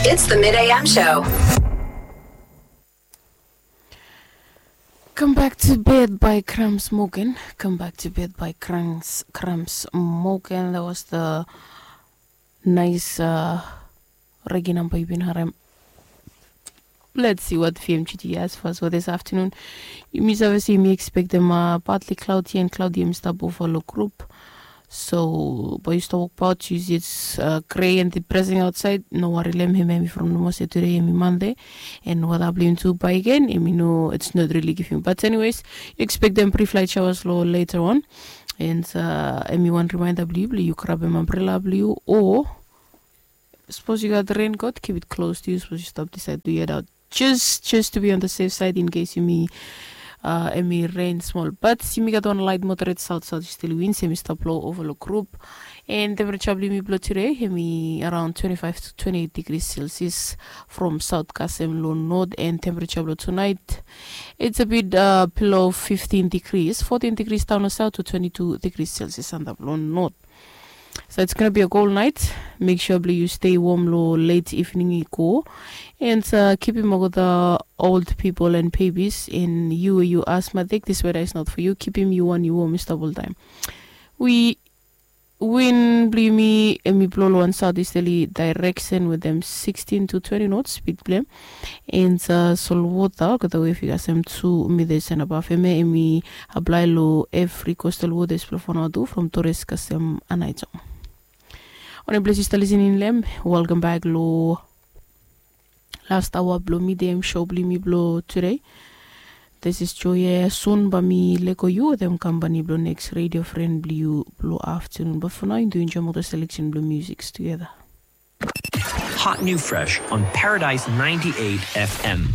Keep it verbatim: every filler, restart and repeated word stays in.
It's the Mid A M Show. Come Back to Bed by Cramps Morgan. Come Back to Bed by Cramps, Cramps Morgan. That was the nice uh, reggae number you've been harem. Let's see what V M G T has for us for this afternoon. Yumi save se yumi expect them uh, partly cloudy and cloudy yumi stap over lo group. So bae yu stap wokbaot yu si it's uh, grey and depressing outside. No worry lem, hemi hemi from nomo se today hemi Monday. And wata blong yumi tu bae again hemi no, it's not really giving. But anyways, yu expect them brief light showers lo later on. And uh, hemi wan reminder blong yu blong yu grabem umbrella blong yu o Suppose you got the raincoat, keep it close to you. Suppose you stop decide to head out. Just, just to be on the safe side in case you may, uh, emi rain small. But you may got one light moderate south southeasterly winds. Emi stop low overlook group. And temperature blong yumi blong today, emi around twenty-five to twenty-eight degrees Celsius from south kasem lo north. And temperature blong tonight, it's a bit uh, below fifteen degrees, fourteen degrees down lo south to twenty-two degrees Celsius anda blong north. So it's gonna be a cold night. Make sure blong yu stay warm lo late evening i go. And uh, kipim olgeta old people and babies and yu we yu asthmatic, this weather is not for you. Kipim yu wan yu warm i stap oltaem. Wi win blong yumi emi blong lo wan southeasterly direction with them sixteen to twenty knots speed blong hem. And uh, solwota olgeta wef i kasem tu meters and above hemia emi apply lo every coastal waters blong Vanuatu from Torres kasem Aneityong. Wanem ples yu stap listening lo hem, welcome back lo last hour blong Mid A M show blong yumi blong today. This is Joya. Soon bae mi lego yu wetem company blong next radio friend blong yu blong afternoon. But for now yu do enjoy moto selection blong music together. Hot new fresh on Paradise ninety-eight F M.